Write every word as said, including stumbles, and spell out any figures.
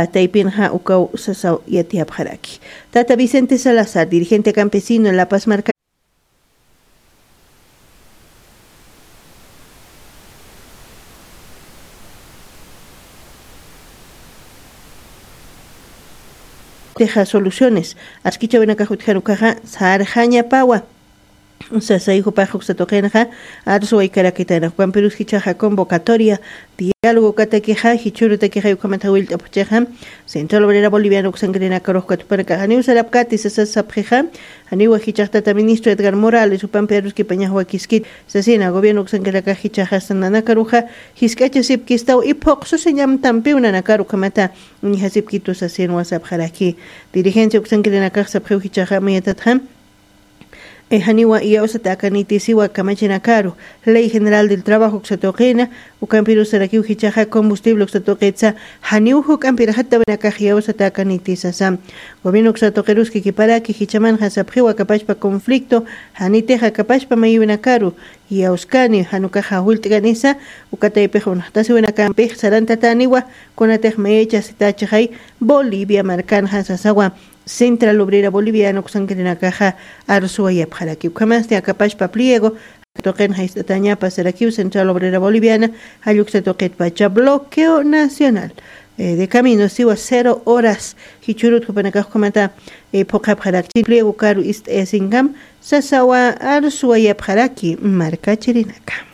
Taypinxa ukaw sasaw yatiyapxaraki. Tata Vicente Salazar, dirigente campesino La Paz marka teja soluciones askichawinakax utjaru kaxa sarxañapawa. Sasayjupax uksatuqinxa arsuwaykarakitana jukampirus jichaxa convocatoria diálogo katakixa jichurutakixa ukhamatxa willt'apxchixa. Central obrera boliviana uksankirinakaruxkatupanakaxa niwsarapkati sasasapxixa. Janiwa jichaxtata ministro Edgar Morales upampi aruskipañaxwakiskit sasina gobierno uksankirinakax jichaxastananakaruxa jisk'achasipkistaw iphuqsusiñamtampiw nanakaruxamata. Uñjasipkitu sasinwasapxaraki. Dirigencia uksankirinakax sapxiw jichaxa mayatatxa janiwa iyawsata akanitisiwa kamachinakaru ley general del trabajo uksatuqina. Ukampirusarakiw jichaxa combustible uksatuqitsa janiw juk'ampirxatawinakax iyawsata akanitisasa. Gobierno uksatuqiruski kiparaki jichamanxa sapxiwa kapachpa conflicto janitixa kapachpa mayiwinakaru iyawskani janukaxa jullt'kanisa. Ukataypix unaxtasiwinakampix sarantataniwa kunatix mayachasitachixay bolivia markanxa sasawa. Central obrera boliviana uksankirinakaxa arsuwayapxaraki ukhamasti akapashpa pliego tuqin jayst'atañapa sarakiw central obrera boliviana. Jalluksa tuqitpacha bloqueo nacional de camino siwa cero horas jichhurut jupanakax ukhamata phuqhapxaraki pliego karu ist'ayasinkam sasawa arsuwayapxaraki. Markachirinaka